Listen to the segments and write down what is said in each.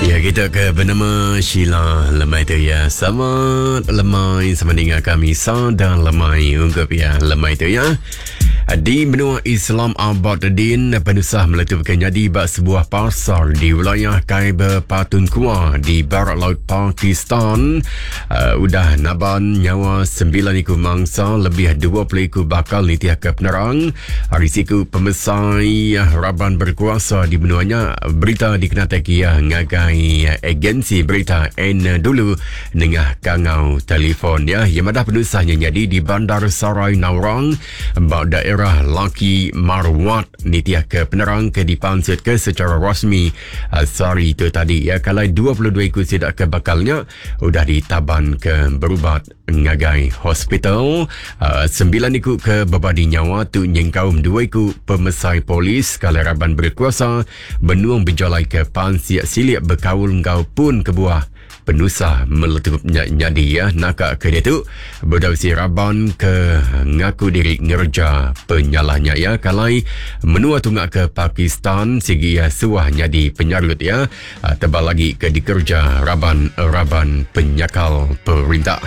Ya kita ke bernama Sheila lemai tu ya. Selamat lemai sama dengar kami sada lemai ungkup ya lemai tu ya. Di menua Islam Abad Din, penusah meletup ke nyadi ba sebuah pasar di wilayah Khyber Pakhtunkhwa di barat laut Pakistan. Uh, udah naban nyawa 9 iku mangsa lebih 20 iku bakal nitih ke penerang ari siku pemesai raban berkuasa di menua nya. Berita dikenatai ke iya ngagai agensi berita N dulu nengah kangau telefon ya. Iya madah penusah nya nyadi di Bandar Sarai Naurang ba daerah Laki Marwat nitih ke penerang ke dipansutka secara rasmi eh, sehari itu tadi ya. Kalai 22 iku sida ke bakal nya udah ditaban ke berubat ngagai hospital. Uh, sembilan iku ke bebadi nyawa tu nyengkaum dua iku pemesai polis kalai raban berkuasa benung bejalai ke pansik silik bekaul enggau pun kebuah Penusah meletup nya nyadi ya naka ke diatu bedau si raban ke ngaku diri ngereja penyalah nya ya kalai menua tunga ke Pakistan sigi ya suah nyadi penyarut ya tebal lagi ke dikerja raban-raban penyakal perintah.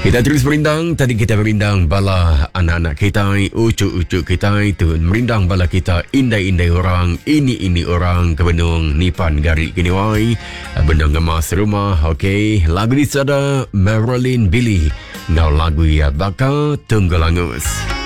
Kita terus merindang, tadi kita merindang bala anak-anak kita, ucu-ucu kita itu merindang bala kita indai-indai orang, ini-ini orang ke benung nipan gari kini wai. Benung ngemas rumah, okey. Lagu ni sada Marilyn Billy. Ngau lagu ia bakal Tunggu Langus.